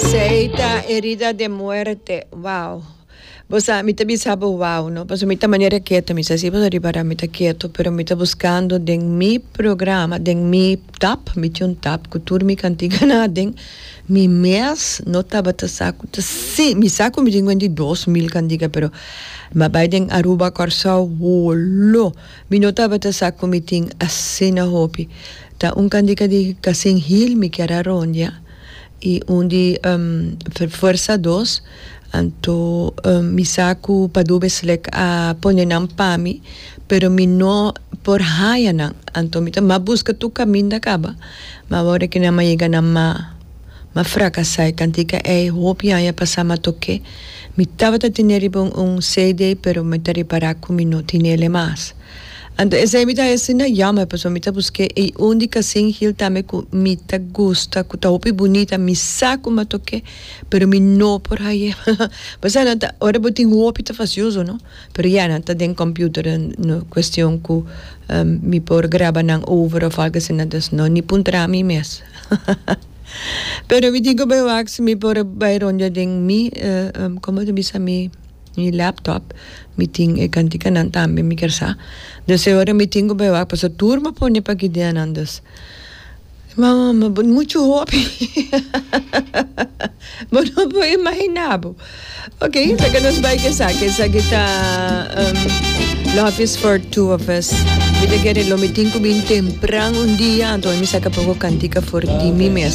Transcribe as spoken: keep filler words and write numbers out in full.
Esey ta Herida de Muerte. Wow. Bo sa, mi ta bisa bo wow, no? Paso mi ta manera keto, mi sa si bo ta ripara mi ta keto, pero mi ta buscando den mi programa, den mi tab, mi tin un tab cu tur mi cantiganan aden, mi mes no tabata sa cu ta si, mi sa cu mi tin di dos mil cantica, pero m'a bay den Aruba, Corsou, holo, mi no tabata sa cu mi tin asina hopi. Ta un cantica di Casin Hill mi kier a rondia y un di um, Fuerza dos, anto um, mi sa cu Padu Beslek a pone nan pa mi, pero mi no por haya nan. Anto mi ta m'a busca tur caminda caba. Ma awor cu nan m'a yega na m'a m'a fracasa e cantica ey hopi aña pasa m'a toke. Mi tabata tene riba un, un C D, pero mi ta ripara cu mi no tinele mas. Anto esey mi ta asina jammer, paso mi ta busca e un di Casin Hill tambe cu mi ta gusta, cu ta hopi bunita, mi sa cu m'a toke, pero mi no por haya. Paso nan ta, ora bo tin hopi ta fastioso, no? Pero ja, nan ta den computer, no cuestion cu um, mi por graba nan over of algo asina, dus no ni puntra mi mes. Pero mi tin cu bay wak si mi por bay rondia den mi, uh, um, con ta bisa, mi mi laptop, mi tin e canticanan tambe, mi kier sa. Dus ora mi tin cu bay wak, paso tur m'a pone pa aki den, dus. Mama, ma mucho hopi. Bo no por imagina bo. Ok, laga nos bay cu esaki. Esaki ta um, Love Is for Two of Us. Mi ta kere lo mi tin cu bin tempran un dia, anto mi saca poco cantica for di mi mes.